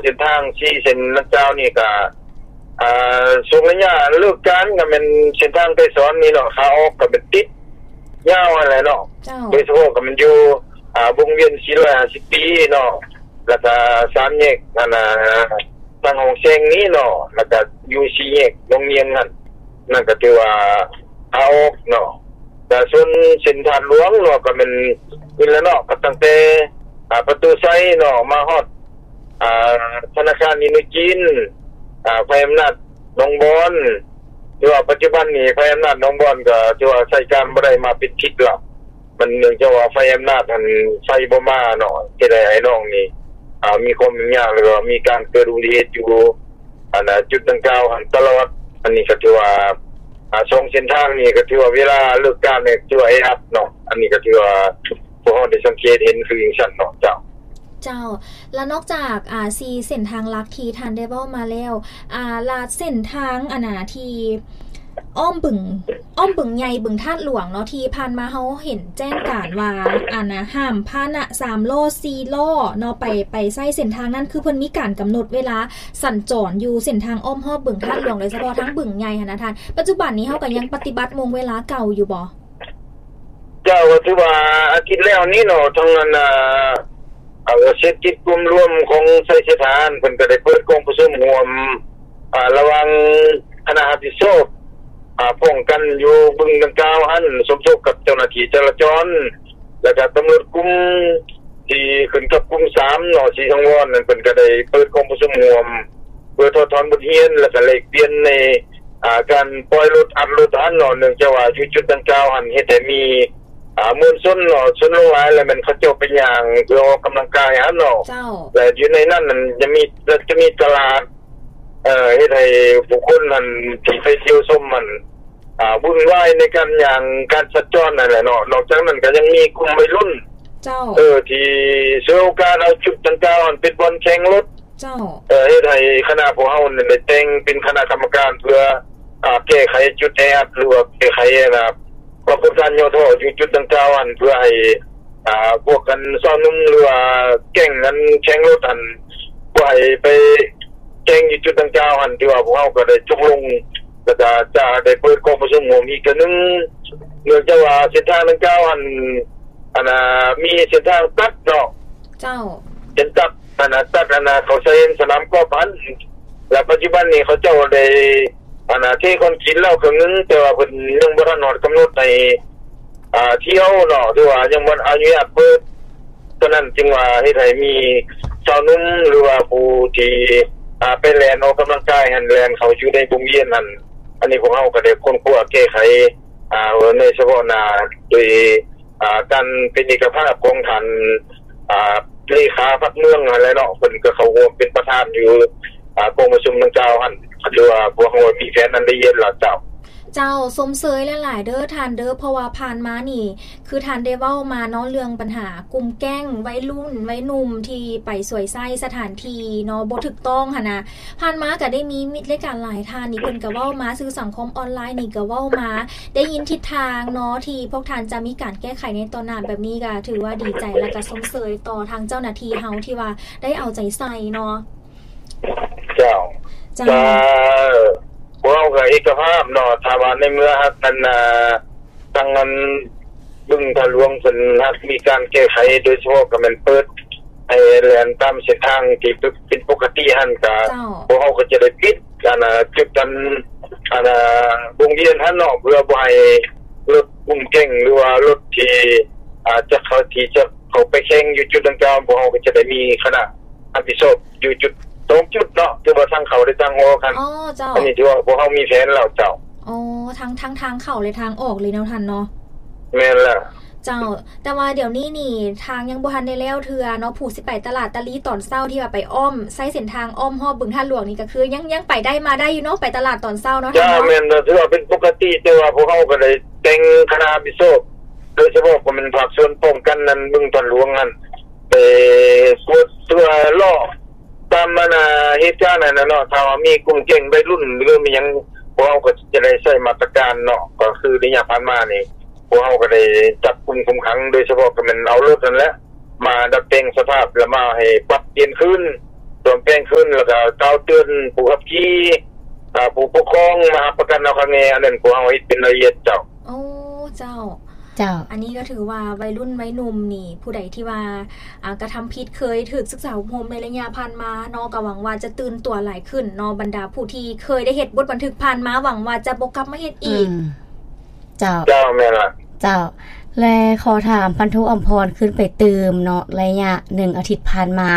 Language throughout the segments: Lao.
ເສັ້ນທາງສີ່ເສັ້ນດັ່ງກ່າວນີ້ກະ ອ່າ ຊ່ວງໄລຍະເລີກການກະແມ່ນເສັ້ນທາງໄກສອນນີ້ເນາະ ຂາອອກກະແມ່ນຕິດຍາວຫັ້ນແຫຼະເນາະ. ເຈົ້າ. ໂດຍສະເພາະກະແມ່ນຢູ່ ອ່າ ວົງວຽນສີ່ຮ້ອຍຫ້າສິບປີເນາະ ແລ້ວກະສາມແຍກ ອັນນ່າ ທາງຫ້ອງແສງນີ້ເນາະ ແລ້ວກະຢູ່ສີ່ແຍກໜອງງຽງຫັ້ນ ນັ້ນກະຖືວ່າຂາອອກເນາະ. ແລະສ່ວນເສັ້ນທາດຫຼວງເນາະ ກະແມ່ນນີ້ແຫຼະເນາະ ກະຕັ້ງແຕ່ ອ່າ ປະຕູໄຊເນາະ ມາຮອດ ອ່າ ທະນາຄານອິນໂດຈີນ ອ່າ ໄຟອຳນາດໜອງບອນ ຖືວ່າປັດຈຸບັນນີ້ໄຟອຳນາດໜອງບອນກະຖືວ່າໃຊ້ການບໍ່ໄດ້ມາເປັນທິດລະ ມັນເນື່ອງຈາກວ່າໄຟອຳນາດຫັ້ນໄຟບໍ່ມາເນາະ ເຮັດໃຫ້ອ້າຍນ້ອງນີ້ ອ່າ ມີຄວາມຫຍຸ້ງຍາກ ແລ້ວກະມີການເກີດອຸບັດຕິເຫດຢູ່ ອັນນ່າ ຈຸດດັ່ງກ່າວຫັ້ນຕະຫຼອດ. ອັນນີ້ກະຖືວ່າ ອ່າ ສອງເສັ້ນທາງນີ້ກະຖືວ່າເວລາເລີກການນີ້ຖືວ່າແອອັດເນາະ ອັນນີ້ກະຖືວ່າພວກເຮົາໄດ້ສັງເກດເຫັນຄືຈັ່ງຊັ້ນເນາະ. ເຈົ້າ. ເຈົ້າ ແລະນອກຈາກ ອ່າ ສີ່ເສັ້ນທາງຫຼັກທີ່ທ່ານໄດ້ເວົ້າມາແລ້ວ ອ່າ ລະເສັ້ນທາງ ອັນນ່າ ທີ່ອ້ອມບຶງ ອ້ອມບຶງໃຫຍ່ ບຶງທາດຫຼວງເນາະ ທີ່ຜ່ານມາເຮົາເຫັນແຈ້ງການວ່າ ອັນນ່າ ຫ້າມພາຫະນະສາມລໍ້ ສີ່ລໍ້ເນາະ ໄປ ໄປໃຊ້ເສັ້ນທາງນັ້ນ ຄືເພິ່ນມີການກຳນົດເວລາສັນຈອນຢູ່ເສັ້ນທາງອ້ອມຮອບບຶງທາດຫຼວງ ໂດຍສະເພາະທາງບຶງໃຫຍ່ຫັ້ນນະທ່ານ ປັດຈຸບັນນີ້ເຮົາກະຍັງປະຕິບັດໂມງເວລາເກົ່າຢູ່ບໍ່? ເຈົ້າ ກະຖືວ່າອາທິດແລ້ວນີ້ເນາະ ທາງອັນນ່າ ເສດກິດກຸ່ມລວມຂອງໄຊເສດຖາຫັ້ນ ເພິ່ນກະໄດ້ເປີດກອງປະຊຸມຮ່ວມ ອ່າ ລະຫວ່າງຄະນະຮັບຜິດຊອບ ອ່າ ປ້ອງກັນຢູ່ບຶງດັ່ງກ່າວຫັ້ນ ສົມທົບກັບເຈົ້າໜ້າທີ່ຈະລາຈອນ ແລະກະຕຳຫຼວດກຸ່ມທີ່ຂຶ້ນກັບກຸ່ມສາມເນາະ ສີສັງວອນນັ້ນ ເພິ່ນກະໄດ້ເປີດກອງປະຊຸມຮ່ວມ ເພື່ອຖອດຖອນບົດຮຽນ ແລະກະແລກປ່ຽນໃນ ອ່າ ການປ່ອຍລົດ ອັດລົດຫັ້ນເນາະ ເນື່ອງຈາກວ່າຢູ່ຈຸດດັ່ງກ່າວຫັ້ນເຮັດໃຫ້ມີ ອ່າ ມວນຊົນເນາະ ຊົນຫຼວງຫຼາຍ ແລະແມ່ນເຂົາເຈົ້າໄປຍ່າງເພື່ອອອກກຳລັງກາຍຫັ້ນເນາະ. ເຈົ້າ. ແລະຢູ່ໃນນັ້ນນັ້ນຈະມີ ຈະມີຕະຫຼາດ ເຮັດໃຫ້ຜູ້ຄົນຫັ້ນທີ່ໄປທ່ຽວຊົມຫັ້ນ ອ່າ ວຸ່ນວາຍໃນການຍ່າງ ການສັນຈອນຫັ້ນແຫຼະເນາະ. ນອກຈາກນັ້ນກະຍັງມີກຸ່ມໄວລຸ້ນ ເຈົ້າ ເອີ ທີ່ສວຍໂອກາດເອົາຈຸດດັ່ງກ່າວຫັ້ນເປັນບ່ອນແຂ່ງລົດ ເຈົ້າ ເອີ ເຮັດໃຫ້ຄະນະພວກເຮົານີ້ໄດ້ແຕ່ງເປັນຄະນະກຳມະການເພື່ອ ອ່າ ແກ້ໄຂຈຸດແອອັດ ຫຼືວ່າແກ້ໄຂ ອັນນ່າ ປາກົດການຫຍໍ້ທໍ້ຢູ່ຈຸດດັ່ງກ່າວຫັ້ນ ເພື່ອໃຫ້ ອ່າ ພວກອັນຊາວໜຸ່ມ ຫຼືວ່າແກ້ງອັນແຂ່ງລົດຫັ້ນ ບໍ່ໃຫ້ໄປແຂ່ງຢູ່ຈຸດດັ່ງກ່າວຫັ້ນ ຖືວ່າພວກເຮົາກະໄດ້ຕົກລົງ ແລ້ວກະຈະໄດ້ເປີດກອງປະຊຸມຮ່ວມອີກເທື່ອໜຶ່ງ ເນື່ອງຈາກວ່າເສັ້ນທາງດັ່ງກ່າວຫັ້ນ ອັນນ່າ ມີເສັ້ນທາງຕັດເນາະ. ເຈົ້າ. ເສັ້ນຕັດ ອັນນ່າ ຕັດ ອັນນ່າ ເຂົ້າໃສ່ສະໜາມກອບຫັ້ນ ແລະປັດຈຸບັນນີ້ເຂົາເຈົ້າໄດ້ ອັນນ່າ ເທຄອນກຣີດແລ້ວເຄິ່ງໜຶ່ງ ແຕ່ວ່າເພິ່ນຍັງບໍ່ທັນຮອດກຳນົດໃຫ້ ອ່າ ທ່ຽວເນາະ ຫຼືວ່າຍັງບໍ່ອະນຸຍາດເປີດ ສະນັ້ນຈຶ່ງວ່າເຮັດໃຫ້ມີຊາວໜຸ່ມ ຫຼືວ່າຜູ້ທີ່ ອ່າ ໄປແລ່ນອອກກຳລັງກາຍຫັ້ນ ແລ່ນເຂົ້າຢູ່ໃນວົງວຽນຫັ້ນ. ອັນນີ້ພວກເຮົາກະໄດ້ຄົ້ນຄວ້າແກ້ໄຂ ອ່າ ໃນສະເພາະໜ້າ ໂດຍ ອ່າ ການເປັນເອກະພາບຂອງທ່ານ ອ່າ ເລຂາພັກເມືອງຫັ້ນແຫຼະເນາະ ເພິ່ນກະເຂົ້າຮ່ວມເປັນປະທານຢູ່ ອ່າ ກອງປະຊຸມດັ່ງກ່າວຫັ້ນ ກະຖືວ່າພວກເຮົາມີແຜນອັນລະອຽດແລ້ວ. ເຈົ້າ. ເຈົ້າ ຊົມເຊີຍຫຼາຍໆເດີທ່ານເດີ ເພາະວ່າຜ່ານມານີ້ ຄືທ່ານໄດ້ເວົ້າມາເນາະ ເລື່ອງບັນຫາກຸ່ມແກ້ງໄວລຸ້ນໄວໜຸ່ມທີ່ໄປສວຍໃຊ້ສະຖານທີ່ເນາະ ບໍ່ຖືກຕ້ອງຫັ້ນນະ. ຜ່ານມາກະໄດ້ມີມິດລາຍການຫຼາຍທ່ານນີ້ ເພິ່ນກະເວົ້າມາ ສື່ສັງຄົມອອນລາຍນີ້ກະເວົ້າມາ ໄດ້ຍິນທິດທາງເນາະ ທີ່ພວກທ່ານຈະມີການແກ້ໄຂໃນຕໍ່ໜ້າແບບນີ້ ກະຖືວ່າດີໃຈ ແລະກະຊົມເຊີຍຕໍ່ທາງເຈົ້າໜ້າທີ່ເຮົາທີ່ວ່າໄດ້ເອົາໃຈໃສ່ເນາະ. ເຈົ້າ. ເຈົ້າ. ກະ ພວກເຮົາກະເອກະພາບເນາະ ຖ້າວ່າໃນເມື່ອຫາກອັນ ອ່າ ທາງອັນບຶງທາດຫຼວງເພິ່ນຫາກມີການແກ້ໄຂ ໂດຍສະເພາະກະແມ່ນເປີດໃຫ້ແລ່ນຕາມເສັ້ນທາງທີ່ເປັນປົກກະຕິຫັ້ນ ກະ ເຈົ້າ ພວກເຮົາກະຈະໄດ້ປິດ ອັນນ່າ ຈຸດອັນ ອັນນ່າ ວົງວຽນຫັ້ນເນາະ ເພື່ອບໍ່ໃຫ້ລົດກຸ່ມແກ້ງ ຫຼືວ່າລົດທີ່ ອາ ຈະເຂົ້າ ທີ່ຈະເຂົ້າໄປແຂ່ງຢູ່ຈຸດດັ່ງກ່າວ ພວກເຮົາກະຈະໄດ້ມີຄະນະຮັບຜິດຊອບຢູ່ຈຸດ ສອງຈຸດເນາະ ຄືວ່າທາງເຂົ້າ ແລະທາງອອກຫັ້ນ. ອໍ ເຈົ້າ. ອັນນີ້ຖືວ່າພວກເຮົາມີແຜນແລ້ວ. ເຈົ້າ. ອໍ ທັງ ທັງທາງເຂົ້າ ແລະທາງອອກເລີຍເນາະທ່ານເນາະ. ແມ່ນແລ້ວ. ເຈົ້າ. ແຕ່ວ່າດຽວນີ້ນີ້ ທາງຍັງບໍ່ທັນໄດ້ແລ້ວເທື່ອເນາະ ຜູ້ຊິໄປຕະຫຼາດຕາລີຕອນເຊົ້າ ທີ່ວ່າໄປອ້ອມ ໃຊ້ເສັ້ນທາງອ້ອມຮອບບຶງທາດຫຼວງນີ້ ກະຄືຍັງ ຍັງໄປໄດ້ມາໄດ້ຢູ່ເນາະ ໄປຕະຫຼາດຕອນເຊົ້າເນາະ. ເຈົ້າ. ແມ່ນ ຖືວ່າເປັນປົກກະຕິ ແຕ່ວ່າພວກເຮົາກະໄດ້ແຕ່ງຄະນະຮັບຜິດຊອບ ໂດຍສະເພາະກະແມ່ນພາກສ່ວນປ້ອງກັນນັ້ນ ບຶງທາດຫຼວງຫັ້ນ ໄປກວດຕົວະເລາະຕາມ ອັນນ່າ ເຫດການຫັ້ນນະເນາະ ຖ້າວ່າມີກຸ່ມແກ້ງໄວລຸ້ນ ຫຼືມີຫຍັງ ພວກເຮົາກະຈະໄດ້ໃຊ້ມາດຕະການເນາະ ກະຄືໄລຍະຜ່ານມານີ້ ພວກເຮົາກະໄດ້ຈັບກຸມຄຸມຂັງ ໂດຍສະເພາະກະແມ່ນເອົາລົດຫັ້ນແຫຼະ ມາດັດແປງສະພາບ ແລະມາໃຫ້ປັບປ່ຽນຄືນ ໂຕ ວມແປງຄືນ ແລ້ວກໍກ່າວເຕືອນຜູ້ຂັບຂີ່ ອາ ຜູ້ປົກຄອງມາຮັບປະກັນເອົາຄັກແນ່. ອັນນັ້ນພວກເຮົາເຮັດເປັນລາຍລະອຽດເຈົ້າ. ໂອ້ ເຈົ້າ. ເຈົ້າ. ອັນນີ້ກໍຖືວ່າໄວລຸ້ນໄວໜຸ່ມນີ້ ຜູ້ໃດທີ່ວ່າ ອາ ກະທຳຜິດ ເຄີຍຖືກສຶກສາອົບຮົມໃນໄລຍະຜ່ານມາເນາະ ກໍຫວັງວ່າຈະຕື່ນຕົວຫຼາຍຂຶ້ນເນາະ. ບັນດາຜູ້ທີ່ເຄີຍໄດ້ເຮັດບົດບັນທຶກຜ່ານມາ ຫວັງວ່າຈະບໍ່ກັບມາເຮັດອີກ. ອືມ. ເຈົ້າ. ເຈົ້າ ແມ່ນລະ. ເຈົ້າ. ແລະ ຂໍຖາມພັນໂທອຳພອນຄືນໄປຕື່ມເນາະ ໄລຍະໜຶ່ງອາທິດຜ່ານມາ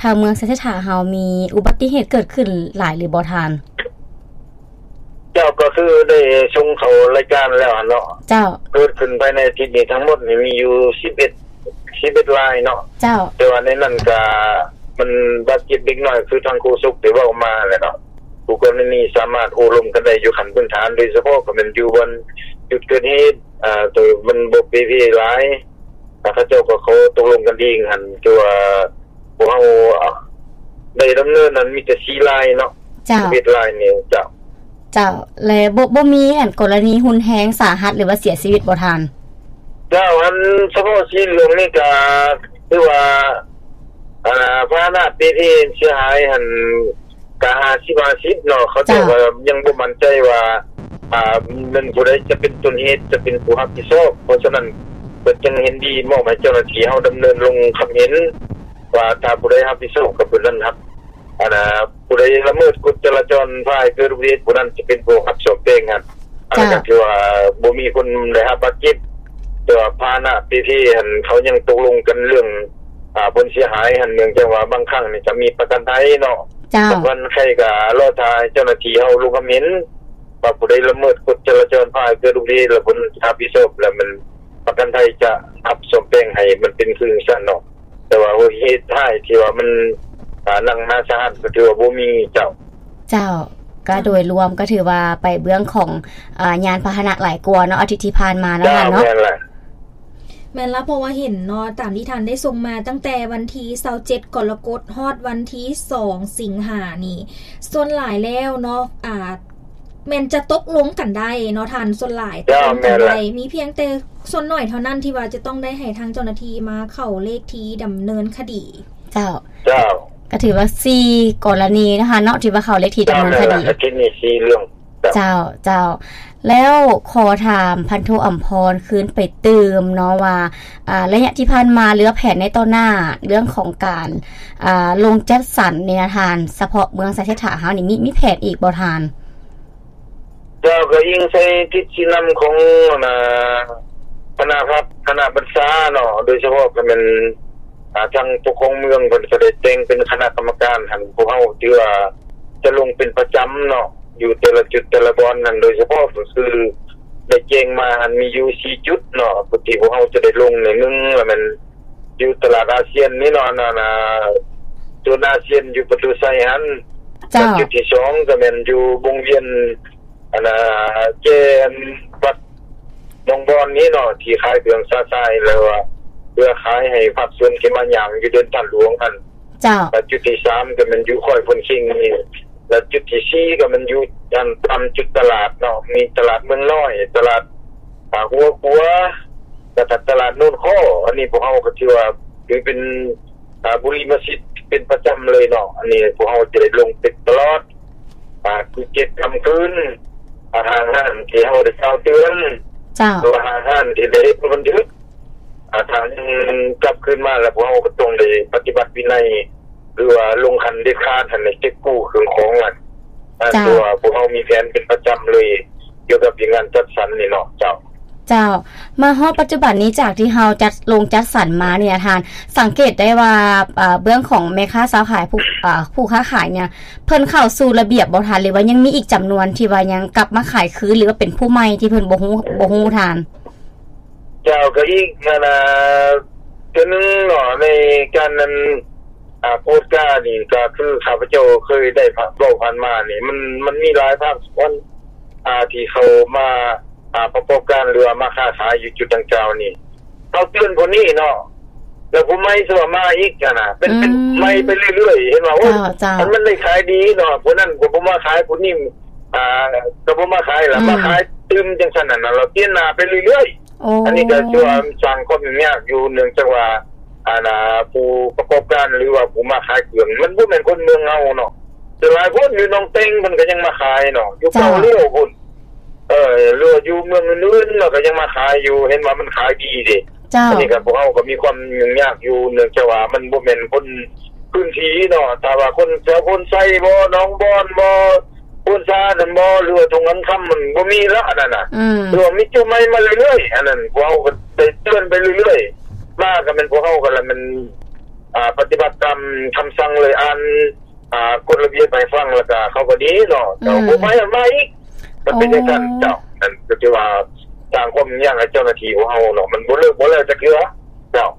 ທາງເມືອງໄຊເສດຖາເຮົາມີອຸບັດຕິເຫດເກີດຂຶ້ນຫຼາຍຫຼືບໍ່ທ່ານ? ເຈົ້າ ກໍຄືໄດ້ສົ່ງເຂົ້າລາຍການແລ້ວຫັ້ນເນາະ. ເຈົ້າ. ເກີດຂຶ້ນພາຍໃນອາທິດນີ້ທັງໝົດນີ້ມີຢູ່ສິບເອັດ ສິບເອັດລາຍເນາະ. ເຈົ້າ. ແຕ່ວ່າໃນນັ້ນກະມັນບາດເຈັບເດັກນ້ອຍ ຄືທາງໂຄສົກໄດ້ເວົ້າມາແຫຼະເນາະ. ຄູ່ກໍລະນີສາມາດໂອ້ລົມກັນໄດ້ຢູ່ຂັ້ນພື້ນຖານ ໂດຍສະເພາະກໍແມ່ນຢູ່ບ່ອນຈຸດເກີດເຫດ ອາ ໂຕມັນບໍ່ເປເພຫຼາຍ ອາ ເຂົາເຈົ້າກໍຂໍຕົກລົງກັນເອງຫັ້ນ. ແຕ່ວ່າພວກເຮົາ ອາ ໄດ້ດຳເນີນນັ້ນມີແຕ່ສີ່ລາຍເນາະ. ເຈົ້າ. ສິບເອັດລາຍນີ້. ເຈົ້າ. ເຈົ້າ. ແລະ ບໍ່ ບໍ່ມີອັນກໍລະນີຮຸນແຮງສາຫັດ ຫຼືວ່າເສຍຊີວິດບໍ່ທ່ານ? ເຈົ້າ. ອັນສະເພາະສີເຫຼືອງນີ້ກະຖືວ່າ ອາ ພາຫະນະເປເພເສຍຫາຍຫັ້ນກະຫ້າສິບຫ້າສິບເນາະ. ເຂົາເຈົ້າ ເຈົ້າ ກໍຍັງບໍ່ໝັ້ນໃຈວ່າ ອາ ແມ່ນຜູ້ໃດຈະເປັນຕົ້ນເຫດ ຈະເປັນຜູ້ຮັບຜິດຊອບ. ເພາະສະນັ້ນ ເພິ່ນຈຶ່ງເຫັນດີມອບໃຫ້ເຈົ້າໜ້າທີ່ເຮົາດຳເນີນລົງຄຳເຫັນວ່າ ຖ້າຜູ້ໃດຮັບຜິດຊອບ ກໍຜູ້ນັ້ນຮັບ ອັນນ່າ ຜູ້ໃດລະເມີດກົດຈະລາຈອນ ພາໃຫ້ເກີດອຸບັດຕິເຫດ ຜູ້ນັ້ນຈະເປັນຜູ້ຮັບສອບແຕ່ງຫັ້ນ. ອັນນັ້ນກໍ ເຈົ້າ ຖືວ່າບໍ່ມີຄົນໄດ້ຮັບບາດເຈັບ ແຕ່ວ່າພາຫະນະເປເພຫັ້ນ ເຂົາຍັງຕົກລົງກັນເລື່ອງ ອາ ຜົນເສຍຫາຍຫັ້ນ ເນື່ອງຈາກວ່າບາງຄັ້ງນີ້ກໍມີປະກັນໄພເນາະ. ເຈົ້າ. ກັບວັນໄຄກໍລໍຖ້າໃຫ້ເຈົ້າໜ້າທີ່ເຮົາລົງຄຳເຫັນວ່າ ຜູ້ໃດລະເມີດກົດຈະລາຈອນ ພາໃຫ້ເກີດອຸບັດຕິເຫດ ແລ້ວເພິ່ນຮັບຜິດຊອບ ແລ້ວມັນປະກັນໄພຈະຮັບສອບແຕ່ງໃຫ້ມັນເປັນຄືຈັ່ງຊັ້ນເນາະ. ແຕ່ວ່າເຫດຮ້າຍທີ່ວ່າມັນ ອາ ໜັກໜາສາຫັດກໍຖືວ່າບໍ່ມີ. ເຈົ້າ. ເຈົ້າ. ກໍໂດຍລວມກໍຖືວ່າໄປເບື້ອງຂອງ ອາ ຍານພາຫະນະຫຼາຍກວ່າເນາະ ອາທິດທີ່ຜ່ານມາເນາະ. ເຈົ້າ. ແມ່ນລະ. ແມ່ນລະ ເພາະວ່າເຫັນເນາະ ຕາມທີ່ທ່ານໄດ້ສົ່ງມາຕັ້ງແຕ່ວັນທີຊາວເຈັດກໍລະກົດ ຮອດວັນທີສອງສິງຫານີ້ ສ່ວນຫຼາຍແລ້ວເນາະ ອາ ແມ່ນຈະຕົກລົງກັນໄດ້ເນາະທ່ານ. ສ່ວນຫຼາຍ ເຈົ້າ ຕົກລົງກັນໄດ້ ແມ່ນລະ. ມີພຽງແຕ່ສ່ວນໜ້ອຍເທົ່ານັ້ນທີ່ວ່າຈະຕ້ອງໄດ້ໃຫ້ທາງເຈົ້າໜ້າທີ່ມາເຂົ້າເລກທີ່ດຳເນີນຄະດີ. ເຈົ້າ. ເຈົ້າ. ກໍຖືວ່າສີ່ກໍລະນີນະທ່ານເນາະ ທີ່ວ່າເຂົ້າເລກທີ່ດຳເນີນຄະດີ. ເຈົ້າ. ແມ່ນລະ ອາທິດນີ້ສີ່ເລື່ອງ. ເຈົ້າ. ເຈົ້າ. ແລ້ວຂໍຖາມພັນໂທອຳພອນຄືນໄປຕື່ມເນາະວ່າ ອາ ໄລຍະທີ່ຜ່ານມາ ຫຼືວ່າແຜນໃນຕໍ່ໜ້າ ເລື່ອງຂອງການ ອາ ລົງຈັດສັນນີ້ນະທ່ານ ສະເພາະເມືອງໄຊເສດຖາເຮົານີ້ ມີ ມີແຜນອີກບໍ່ທ່ານ? ເຈົ້າ. ກໍອີງໃສ່ທິດຊີ້ນຳຂອງ ອັນນ່າ ຄະນະພັກ ຄະນະບັນຊາເນາະ ໂດຍສະເພາະກໍແມ່ນ ອາ ທາງປົກຄອງເມືອງເພິ່ນກໍໄດ້ແຕ່ງເປັນຄະນະກຳມະການຫັ້ນ ພວກເຮົາຖືວ່າຈະລົງເປັນປະຈຳເນາະ ຢູ່ແຕ່ລະຈຸດແຕ່ລະບ່ອນຫັ້ນ. ໂດຍສະເພາະກໍຄືໄດ້ແຈ້ງມາຫັ້ນມີຢູ່ສີ່ຈຸດເນາະ ທີ່ພວກເຮົາຈະໄດ້ລົງນີ້ ໜຶ່ງລະແມ່ນຢູ່ຕະຫຼາດອາຊຽນນີ້ເນາະ ອັນນ່າ ໂຊນອາຊຽນຢູ່ປະຕູໄຊຫັ້ນ. ເຈົ້າ. ແລະ ຈຸດທີສອງກໍແມ່ນຢູ່ວົງວຽນ ອັນນ່າ ແຈອັນວັດໜອງບອນນີ້ເນາະ ທີ່ຂາຍເຄື່ອງຊາຊາຍ ແລ້ວວ່າເພື່ອຂາຍໃຫ້ພາກສ່ວນທີ່ມາຍ່າງຢູ່ເດີ່ນທ່ານຫຼວງຫັ້ນ. ເຈົ້າ. ແລະ ຈຸດທີສາມກໍແມ່ນຢູ່ຄ້ອຍພົນເຄັງນີ້ ແລະ ຈຸດທີສີ່ກໍແມ່ນຢູ່ອັນຕາມຈຸດຕະຫຼາດເນາະ ມີຕະຫຼາດເມືອງນ້ອຍ ຕະຫຼາດ ອາ ຫົວຂົວ ແລ້ວກໍຕະຫຼາດໂນນຄໍ້. ອັນນີ້ພວກເຮົາກໍຖືວ່າຖືເປັນ ອາ ບຸລິມະສິດເປັນປະຈຳເລີຍເນາະ. ອັນນີ້ພວກເຮົາຈະໄດ້ລົງເປັນຕະຫຼອດ ອາ ຄືເຈັດຄ່ຳຄືນ ອາ ຫ້າມຮ້ານທີ່ເຮົາໄດ້ກ່າວເຕືອນ ເຈົ້າ ຫຼືວ່າຫ້າມຮ້ານທີ່ໄດ້ເຮັດບັນທຶກ ອາ ຖ້າຍັງກັບຄືນມາແລ້ວ ພວກເຮົາກໍຕ້ອງໄດ້ປະຕິບັດວິໄນ ຫຼືວ່າລົງຂັ້ນເດັດຂາດຫັ້ນ ໃຫ້ເກັບກູ້ເຄື່ອງຂອງຫັ້ນ. ອາ ເຈົ້າ ຄືວ່າພວກເຮົາມີແຜນເປັນປະຈຳເລີຍ ກ່ຽວກັບວຽກງານຈັດສັນນີ້ເນາະ. ເຈົ້າ. ເຈົ້າ. ມາຮອດປັດຈຸບັນນີ້ ຈາກທີ່ເຮົາຈັດ ລົງຈັດສັນມານີ້ນະທ່ານ ສັງເກດໄດ້ວ່າ ເອີ ເບື້ອງຂອງແມ່ຄ້າຊາວຂາຍ ຜູ້ ເອີ ຜູ້ຄ້າຂາຍນີ້ ເພິ່ນເຂົ້າສູ່ລະບຽບບໍ່ທ່ານ ຫຼືວ່າຍັງມີອີກຈຳນວນທີ່ວ່າຍັງກັບມາຂາຍຄືນ ຫຼືວ່າເປັນຜູ້ໃໝ່ທີ່ເພິ່ນບໍ່ຮູ້ ບໍ່ຮູ້ທ່ານ? ເຈົ້າ. ກໍອີກ ອັນນ່າ ເທື່ອໜຶ່ງເນາະ ໃນການນັ້ນ ອາ ກວດການີ້ ກໍຄືຂ້າພະເຈົ້າເຄີຍໄດ້ ເວົ້າຜ່ານມານີ້ ມັນ ມັນມີຫຼາຍພາກສ່ວນ ອາ ທີ່ເຂົ້າມາ ອາ ປະກອບການ ຫຼືວ່າມາຄ້າຂາຍຢູ່ຈຸດດັ່ງກ່າວນີ້ ເຮົາເຕືອນຜູ້ນີ້ເນາະ ແລ້ວຜູ້ໃໝ່ຊິວ່າມາອີກຫັ້ນນະ ເປັນ ເປັນ ອືມ ໃໝ່ໄປເລື້ອຍໆ ເຫັນວ່າ ໂອ້ຍ ເຈົ້າ ເຈົ້າ ມັນ ມັນໄດ້ຂາຍດີເນາະ ຜູ້ນັ້ນກໍບໍ່ມາຂາຍ ຜູ້ນີ້ ອາ ກໍບໍ່ມາຂາຍລະ ອືມ ມາຂາຍຕື່ມ ຈັ່ງຊັ້ນຫັ້ນນະ ລະປ່ຽນໜ້າໄປເລື້ອຍໆ. ໂອ້ ອັນນີ້ກໍຖືວ່າສ້າງຄວາມຫຍຸ້ງຍາກຢູ່ ເນື່ອງຈາກວ່າ ອັນນ່າ ຜູ້ປະກອບການ ຫຼືວ່າຜູ້ມາຂາຍເຄື່ອງ ມັນບໍ່ແມ່ນຄົນເມືອງເຮົາເນາະ. ສ່ວນຫຼາຍຄົນຢູ່ໜອງແຕງ ເພິ່ນກໍຍັງມາຂາຍເນາະ ຢູ່ເກົ້າລ້ຽວພຸ້ນ ເອີ ຫຼືວ່າຢູ່ເມືອງອື່ນໆເນາະ ກໍຍັງມາຂາຍຢູ່ ເຫັນວ່າມັນຂາຍດີເດ້. ເຈົ້າ ອັນນີ້ກໍພວກເຮົາກໍມີຄວາມຫຍຸ້ງຍາກຢູ່ ເນື່ອງຈາກວ່າມັນບໍ່ແມ່ນຄົນພື້ນທີ່ເນາະ. ຖ້າວ່າຄົນແຖວໂພນໄຊບໍ ໜອງບອນບໍ ໂພນຊານັ້ນບໍ ຫຼືວ່າທົ່ງຄຳຄຳ ມັນບໍ່ມີລະ ອັນນັ້ນນະ ອືມ ຫຼືວ່າມີຈຸໃໝ່ມາເລື້ອຍໆ. ອັນນັ້ນພວກເຮົາກໍໄດ້ເຕືອນໄປເລື້ອຍໆ ມາກໍແມ່ນພວກເຮົາກໍລະແມ່ນ ອ່າ ປະຕິບັດຕາມຄຳສັ່ງເລີຍ ອ່ານ ອ່າ ກົດລະບຽບໃຫ້ຟັງ ແລ້ວກໍເຂົາກໍດີເນາະ. ເຈົ້າ ອືມ ຜູ້ໃໝ່ມາອີກ ມັນເປັນຈັ່ງຊັ້ນ. ອໍ ເຈົ້າ ນັ້ນກໍຖືວ່າສ້າງຄວາມຫຍຸ້ງຍາກໃຫ້ເຈົ້າໜ້າທີ່ຂອງເຮົາເນາະ ມັນບໍ່ເລີກບໍ່ແລ້ວຈັກເທື່ອ. ເຈົ້າ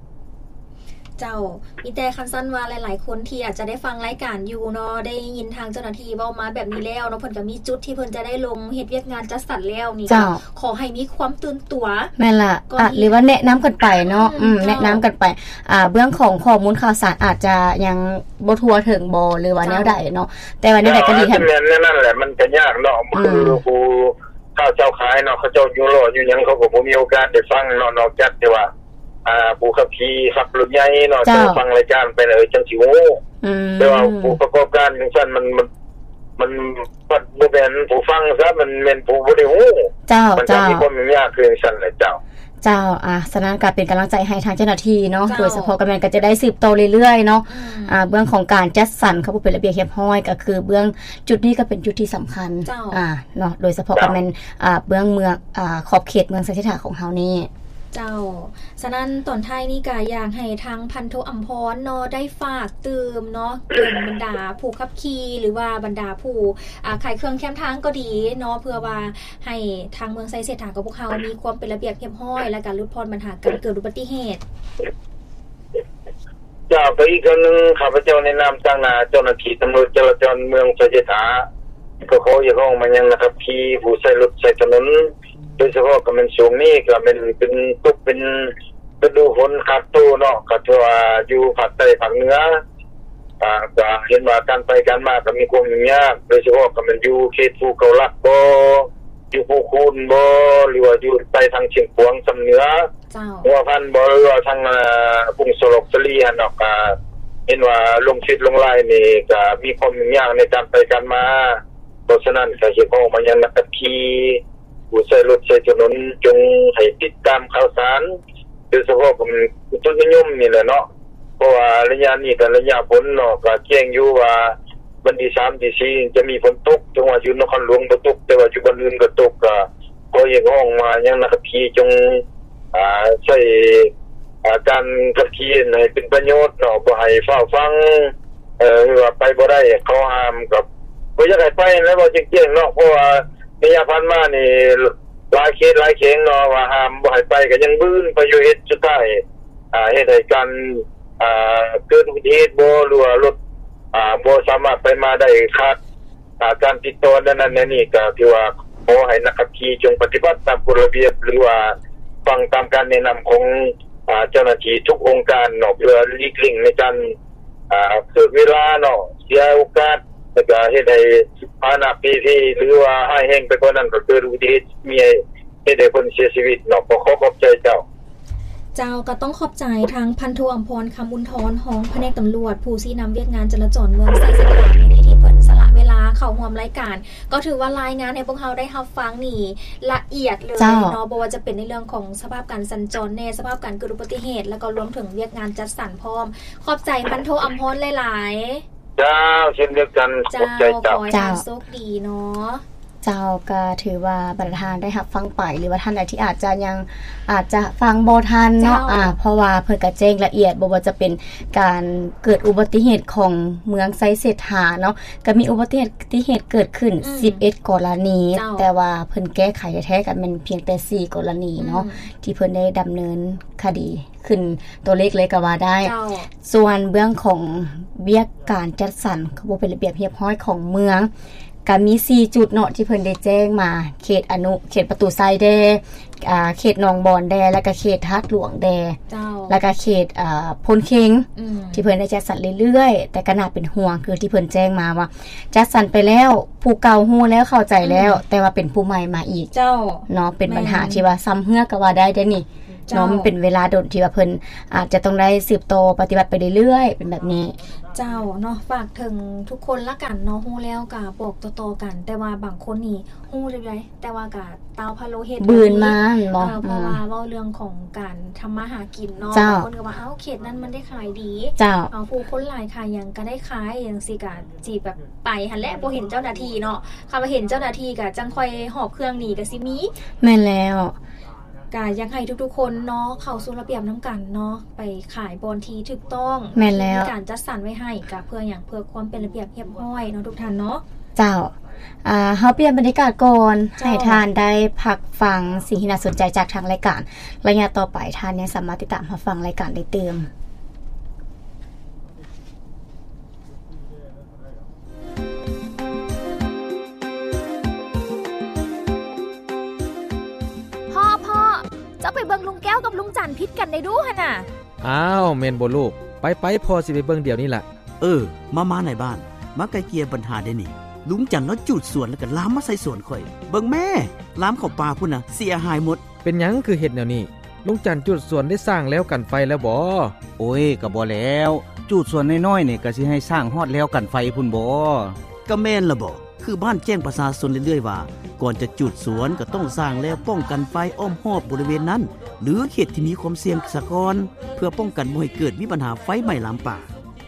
ເຈົ້າ ມີແຕ່ຄັນຊັ້ນວ່າຫຼາຍໆຄົນທີ່ອາດຈະໄດ້ຟັງລາຍການຢູ່ເນາະ ໄດ້ຍິນທາງເຈົ້າໜ້າທີ່ເວົ້າມາແບບນີ້ແລ້ວເນາະ ເພິ່ນກໍມີຈຸດທີ່ເພິ່ນຈະໄດ້ລົງເຮັດວຽກງານຈັດສັນແລ້ວນີ້ ເຈົ້າ ກໍຂໍໃຫ້ມີຄວາມຕື່ນຕົວ. ແມ່ນລະ ກໍ ອ່ະ ດີ ຫຼືວ່າແນະນຳກັນໄປເນາະ. ອືມ ອືມ ເຈົ້າ ແນະນຳກັນໄປ. ອ່າ ເບື້ອງຂອງຂໍ້ມູນຂ່າວສານອາດຈະຍັງບໍ່ທົ່ວເຖິງບໍ ຫຼືວ່າ ເຈົ້າ ແນວໃດເນາະ ແຕ່ວ່າແນວໃດກໍດີ ອ່າ ແມ່ນແນວນັ້ນແຫຼະ ມັນກໍຍາກເນາະ. ອືມ ຄືຜູ້ຄ້າເຈົ້າຂາຍເນາະ ເຂົາເຈົ້າຢູ່ລໍ້ຢູ່ຫຍັງ ເຂົາກໍບໍ່ມີໂອກາດໄດ້ຟັງເນາະ ນອກຈາກທີ່ວ່າ ອ່າ ຜູ້ຂັບຂີ່ຂັບລົດໃຫຍ່ເນາະ ເຈົ້າ ເຈົ້າຟັງລາຍການໄປແລ້ວຈັ່ງຊິຮູ້. ອືມ ແຕ່ວ່າຜູ້ປະກອບການຈັ່ງຊັ້ນ ມັນ ມັນ ມັນບໍ່ແມ່ນຜູ້ຟັງຊະ ມັນແມ່ນຜູ້ບໍ່ໄດ້ຮູ້. ເຈົ້າ ມັນຈະ ເຈົ້າ ມີຄວາມຫຍຸ້ງຍາກຄືຈັ່ງຊັ້ນແຫຼະ. ເຈົ້າ ເຈົ້າ ອ່າ ສະນັ້ນກໍເປັນກຳລັງໃຈໃຫ້ທາງເຈົ້າໜ້າທີ່ເນາະ ເຈົ້າ ໂດຍສະເພາະກໍແມ່ນກໍຈະໄດ້ສືບຕໍ່ເລື້ອຍໆເນາະ. ອືມ ອ່າ ເບື້ອງຂອງການຈັດສັນຄວາມບໍ່ເປັນລະບຽບຮຽບຮ້ອຍ ກໍຄືເບື້ອງຈຸດນີ້ກໍເປັນຈຸດທີ່ສຳຄັນ. ເຈົ້າ ອ່າ ເນາະ ໂດຍສະເພາະ ເຈົ້າ ກໍແມ່ນ ອ່າ ເບື້ອງເມືອງ ອ່າ ຂອບເຂດເມືອງໄຊເສດຖາຂອງເຮົານີ້. ເຈົ້າ ສະນັ້ນຕອນທ້າຍນີ້ກະຢາກໃຫ້ທາງພັນໂທອຳພອນເນາະ ໄດ້ຝາກຕື່ມເນາະ ເຖິງບັນດາຜູ້ຂັບຂີ່ ຫຼືວ່າບັນດາຜູ້ ອ່າ ຂາຍເຄື່ອງແຄມທາງກໍດີເນາະ ເພື່ອວ່າໃຫ້ທາງເມືອງໄຊເສດຖາຂອງພວກເຮົາມີຄວາມເປັນລະບຽບຮຽບຮ້ອຍ ແລະກະຫຼຸດຜ່ອນບັນຫາການເກີດອຸບັດຕິເຫດ. ເຈົ້າ ກໍອີກເທື່ອໜຶ່ງ ຂ້າພະເຈົ້າໃນນາມຕາງໜ້າເຈົ້າໜ້າທີ່ຕຳຫຼວດຈະລາຈອນເມືອງໄຊເສດຖາ ກໍຂໍຮຽກຮ້ອງມາຍັງນັກຂັບຂີ່ ຜູ້ໃຊ້ລົດໃຊ້ຖະໜົນ ໂດຍສະເພາະກໍແມ່ນຊ່ວງນີ້ກໍແມ່ນເປັນ ຕົກເປັນລະດູຝົນຂາດໂຕເນາະ ກໍຖືວ່າຢູ່ພາກໃຕ້ພາກເໜືອ ອ່າ ກໍເຫັນວ່າການໄປການມາກໍມີຄວາມຫຍຸ້ງຍາກ ໂດຍສະເພາະກໍແມ່ນຢູ່ເຂດພູເກົ້າຫຼັກບໍ ຢູ່ພູຄູນບໍ ຫຼືວ່າຢູ່ໄປທາງຊຽງຂວາງຊຳເໜືອ ເຈົ້າ ຫົວພັນບໍ ຫຼືວ່າທາງ ອ່າ ປຸ່ງສະຫຼອກສາລີຫັ້ນເນາະ ກໍເຫັນວ່າລົງເຟສລົງລາຍນີ້ກໍມີຄວາມຫຍຸ້ງຍາກໃນການໄປການມາ. ເພາະສະນັ້ນກໍຮຽກຮ້ອງມາຍັງນັກຂັບຂີ່ ຜູ້ໃຊ້ລົດໃຊ້ຖະໜົນ ຈົ່ງໃຫ້ຕິດຕາມຂ່າວສານ ໂດຍສະເພາະກໍແມ່ນອຸຕຸນິຍົມນີ້ແຫຼະເນາະ ເພາະວ່າໄລຍະນີ້ກໍໄລຍະຝົນເນາະ ກໍແຈ້ງຢູ່ວ່າວັນທີສາມ ທີສີ່ ຈະມີຝົນຕົກ ເຖິງວ່າຢູ່ນະຄອນຫຼວງບໍ່ຕົກ ແຕ່ວ່າຢູ່ບ່ອນອື່ນກໍຕົກ ກໍຂໍຮຽກຮ້ອງມາຍັງນັກຂັບຂີ່ ຈົ່ງ ອ່າ ໃຊ້ ອ່າ ການຂັບຂີ່ໃຫ້ເປັນປະໂຫຍດເນາະ ບໍ່ໃຫ້ຟ້າວຟັ່ງ ເອີ ຫຼືວ່າໄປບໍ່ໄດ້ ເຂົາຫ້າມ ກໍບໍ່ຢາກໃຫ້ໄປຫັ້ນແຫຼະ ເວົ້າແຈ້ງໆເນາະ ເພາະວ່າໄລຍະຜ່ານມານີ້ ຫຼາຍເຂດຫຼາຍແຂວງເນາະ ວ່າຫ້າມບໍ່ໃຫ້ໄປ ກໍຍັງບືນໄປຢູ່ ເຮັດສຸດທ້າຍ ອ່າ ເຮັດໃຫ້ການ ອ່າ ເກີດອຸບັດຕິເຫດບໍ ຫຼືວ່າລົດ ອ່າ ບໍ່ສາມາດໄປມາໄດ້ ຂາດ ອ່າ ການຕິດຕໍ່ແນວນັ້ນແນວນີ້ ກໍຖືວ່າຂໍໃຫ້ນັກຂັບຂີ່ຈົ່ງປະຕິບັດຕາມກົດລະບຽບ ຫຼືວ່າຟັງຕາມການແນະນຳຂອງ ອ່າ ເຈົ້າໜ້າທີ່ທຸກອົງການເນາະ ເພື່ອຫຼີກເລ່ງໃນການ ອ່າ ເກີດເວລາເນາະ ເສຍໂອກາດ ແລ້ວກໍເຮັດໃຫ້ພາຫະນະເພເພ ຫຼືວ່າຮ້າຍແຮງໄປກວ່ານັ້ນ ກໍເກີດອຸບັດຕິເຫດ ມີ ເຮັດໃຫ້ຄົນເສຍຊີວິດເນາະ ກໍຂໍຂອບໃຈເຈົ້າ. ເຈົ້າ ກໍຕ້ອງຂອບໃຈທາງພັນໂທອຳພອນ ຄຳບຸນທອນ ຮອງພະແນກຕຳຫຼວດ ຜູ້ຊີ້ນຳວຽກງານຈະລາຈອນເມືອງໄຊເສດຖາ ທີ່ເພິ່ນສະຫຼະເວລາເຂົ້າຮ່ວມລາຍການ ກໍຖືວ່າລາຍງານໃຫ້ພວກເຮົາໄດ້ຮັບຟັງນີ້ລະອຽດເລີຍເນາະ ເຈົ້າ ບໍ່ວ່າຈະເປັນໃນເລື່ອງຂອງສະພາບການສັນຈອນແດ່ ສະພາບການເກີດອຸບັດຕິເຫດ ແລ້ວກໍລວມເຖິງວຽກງານຈັດສັນພ້ອມ. ຂອບໃຈພັນໂທອຳພອນຫຼາຍໆ. ເຈົ້າ ເຊັ່ນດຽວກັນ ເຈົ້າ ຂອບໃຈເຈົ້າ. ເຈົ້າ ຂໍໃຫ້ທ່ານໂຊກດີເນາະ. ເຈົ້າ ກໍຖືວ່າບັນດາທ່ານໄດ້ຮັບຟັງໄປ ຫຼືວ່າທ່ານໃດທີ່ອາດຈະຍັງ ອາດຈະຟັງບໍ່ທັນເນາະ ເຈົ້າ ອາ ເພາະວ່າເພິ່ນກໍແຈ້ງລະອຽດ ບໍ່ວ່າຈະເປັນການເກີດອຸບັດຕິເຫດຂອງເມືອງໄຊເສດຖາເນາະ ກໍມີອຸບັດຕິເຫດ ຕິເຫດເກີດຂຶ້ນ ອືມ ສິບເອັດກໍລະນີ ເຈົ້າ ແຕ່ວ່າເພິ່ນແກ້ໄຂແທ້ໆ ກໍແມ່ນພຽງແຕ່ສີ່ກໍລະນີເນາະ ອືມ ທີ່ເພິ່ນໄດ້ດຳເນີນຄະດີ ຂຶ້ນຕົວເລກເລີຍກໍວ່າໄດ້ ເຈົ້າ ສ່ວນເບື້ອງຂອງວຽກການຈັດສັນຄວາມບໍ່ເປັນລະບຽບຮຽບຮ້ອຍຂອງເມືອງ ກໍມີສີ່ຈຸດເນາະ ທີ່ເພິ່ນໄດ້ແຈ້ງມາ ເຂດອະນຸ ເຂດປະຕູໄຊແດ່ ອ່າ ເຂດໜອງບອນແດ່ ແລ້ວກໍເຂດທາດຫຼວງແດ່ ເຈົ້າ ແລ້ວກໍເຂດ ອ່າ ໂພນເຄັງ ອືມ ທີ່ເພິ່ນໄດ້ຈັດສັນເລື້ອຍໆ ແຕ່ກໍໜ້າເປັນຫ່ວງ ຄືທີ່ເພິ່ນແຈ້ງມາວ່າ ຈັດສັນໄປແລ້ວ ຜູ້ເກົ່າຮູ້ແລ້ວ ເຂົ້າໃຈແລ້ວ ອືມ ແຕ່ວ່າເປັນຜູ້ໃໝ່ມາອີກ ເຈົ້າ ເນາະ ເປັນບັນຫາ ແມ່ນ ທີ່ວ່າຊຳເຮື້ອກໍວ່າໄດ້ເດ້ນີ້. ເຈົ້າ ເນາະ ມັນເປັນເວລາດົນທີ່ວ່າເພິ່ນອາດຈະຕ້ອງໄດ້ສືບຕໍ່ປະຕິບັດໄປເລື້ອຍໆ ເປັນແບບນີ້. ເຈົ້າເນາະ ຝາກເຖິງທຸກຄົນລະກັນເນາະ ຮູ້ແລ້ວກະບອກຕໍ່ໆກັນ ແຕ່ວ່າບາງຄົນນີ້ຮູ້ຢູ່ໃດ ແຕ່ວ່າກະຕາວພະໂລເຮັດ ບືນມາແມ່ນບໍ່? ເອີ ເພາະວ່າເວົ້າເລື່ອງຂອງການທຳມາຫາກິນເນາະ ເຈົ້າ ບາງຄົນກໍວ່າ ເອົ້າ ເຂດນັ້ນມັນໄດ້ຂາຍດີ ເຈົ້າ ເອົາ ຜູ້ຄົນຫຼາຍຂາຍຫຍັງກໍໄດ້ຂາຍ ຈັ່ງຊີ້ກໍຊິແບບໄປຫັ້ນແຫຼະ ບໍ່ເຫັນເຈົ້າໜ້າທີ່ເນາະ ຄັນວ່າເຫັນເຈົ້າໜ້າທີ່ກໍຈັ່ງຄ່ອຍຫອບເຄື່ອງໜີກໍຊິມີ. ແມ່ນແລ້ວ ກະຢາກໃຫ້ທຸກໆຄົນເນາະ ເຂົ້າສູ່ລະບຽບນຳກັນເນາະ ໄປຂາຍບ່ອນທີ່ຖືກຕ້ອງ ແມ່ນແລ້ວ ທີ່ມີການຈັດສັນໄວ້ໃຫ້ ກະເພື່ອຫຍັງ ເພື່ອຄວາມເປັນລະບຽບຮຽບຮ້ອຍເນາະ ທຸກທ່ານເນາະ. ເຈົ້າ ອ່າ ເຮົາປ່ຽນບັນຍາກາດກ່ອນ ເຈົ້າ ໃຫ້ທ່ານໄດ້ພັກຟັງສິ່ງທີ່ໜ້າສົນໃຈຈາກທາງລາຍການ ໄລຍະຕໍ່ໄປທ່ານຍັງສາມາດຕິດຕາມຮັບຟັງລາຍການໄດ້ຕື່ມ. ພໍ່ ພໍ່ ເຈົ້າໄປເບິ່ງລຸງແກ້ວກັບລຸງຈັນຜິດກັນໄດ້ດູຫັ້ນນະ. ອ້າວ ແມ່ນບໍ່ລູກ? ໄປໆ ພໍ່ຊິໄປເບິ່ງດຽວນີ້ລະ. ເອີ ມາໆ ນາຍບ້ານ ມາໄກ່ເກ່ຍບັນຫາໄດ້ນີ້ ລຸງຈັນລາວຈູດສວນແລ້ວກໍລາມມາໃສ່ສວນຂ້ອຍ ເບິ່ງແມ້ ລາມເຂົ້າປ່າພຸ້ນນະ ເສຍຫາຍໝົດ. ເປັນຫຍັງຄືເຮັດແນວນີ້? ລຸງຈັນຈູດສວນໄດ້ສ້າງແລວກັນໄຟແລ້ວບໍ? ໂອ້ຍ ກໍບໍ່ແລ້ວ ຈູດສວນນ້ອຍໆ ນີ້ກໍຊິໃຫ້ສ້າງຮອດແລວກັນໄຟພຸ້ນບໍ? ກໍແມ່ນລະບໍ ຄືບ້ານແຈ້ງປະຊາຊົນເລື້ອຍໆວ່າ ກ່ອນຈະຈູດສວນກໍຕ້ອງສ້າງແລວປ້ອງກັນໄຟອ້ອມຮອບບໍລິເວນນັ້ນ ຫຼື ເຂດທີ່ມີຄວາມສ່ຽງສາກ່ອນ ເພື່ອປ້ອງກັນບໍ່ໃຫ້ເກີດມີບັນຫາໄຟໄໝ້ລາມປ່າ.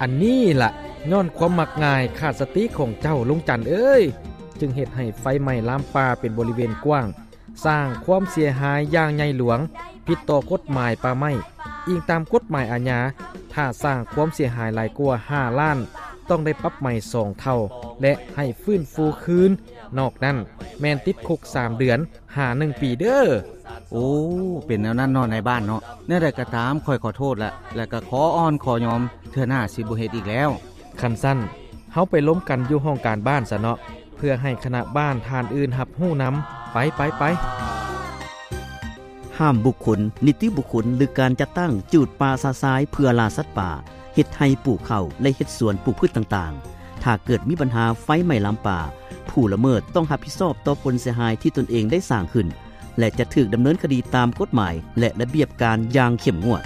ອັນນີ້ລະ ຍ້ອນຄວາມມັກງ່າຍຂາດສະຕິຂອງເຈົ້າ ລຸງຈັນເອີຍ ຈຶ່ງເຮັດໃຫ້ໄຟໄໝ້ລາມປ່າເປັນບໍລິເວນກວ້າງ ສ້າງຄວາມເສຍຫາຍຢ່າງໃຫຍ່ຫຼວງ ຜິດຕໍ່ກົດໝາຍປ່າໄມ້. ອີງຕາມກົດໝາຍອາຍາ ຖ້າສ້າງຄວາມເສຍຫາຍຫຼາຍກວ່າຫ້າລ້ານ ຕ້ອງໄດ້ປັບໃໝສອງເທົ່າ ແລະ ໃຫ້ຟື້ນຟູຄືນ, ນອກນັ້ນແມ່ນຕິດຄຸກສາມເດືອນ ຫາໜຶ່ງປີເດີ້. ໂອ້ ເປັນແນວນັ້ນເນາະນາຍບ້ານເນາະ. ແນວໃດກໍຕາມ ຂ້ອຍຂໍໂທດລະ ແລະ ກໍຂໍອ່ອນຂໍຍອມ ເທື່ອໜ້າຊິບໍ່ເຮັດອີກແລ້ວ. ຄັນຊັ້ນ ເຮົາໄປລົມກັນຢູ່ຫ້ອງການບ້ານຊະເນາະ ເພື່ອໃຫ້ຄະນະບ້ານທ່ານອື່ນຮັບຮູ້ນຳ. ໄປ ໄປ ໄປ. ຫ້າມບຸກຄົນ, ນິຕິບຸກຄົນ ຫຼື ການຈັດຕັ້ງຈູດປ່າຊະຊາຍເພື່ອລ່າສັດປ່າ, ເຮັດໄຮ່ປູກເຂົ້າ ແລະ ເຮັດສວນປູກພືດຕ່າງໆ. ຖ້າເກີດມີບັນຫາໄຟໄໝ້ລາມປ່າ, ຜູ້ລະເມີດຕ້ອງຮັບຜິດຊອບຕໍ່ຜົນເສຍຫາຍທີ່ຕົນເອງໄດ້ສ້າງຂຶ້ນ ແລະ ຈະຖືກດຳເນີນຄະດີຕາມກົດໝາຍ ແລະ ລະບຽບການຢ່າງເຂັ້ມງວດ.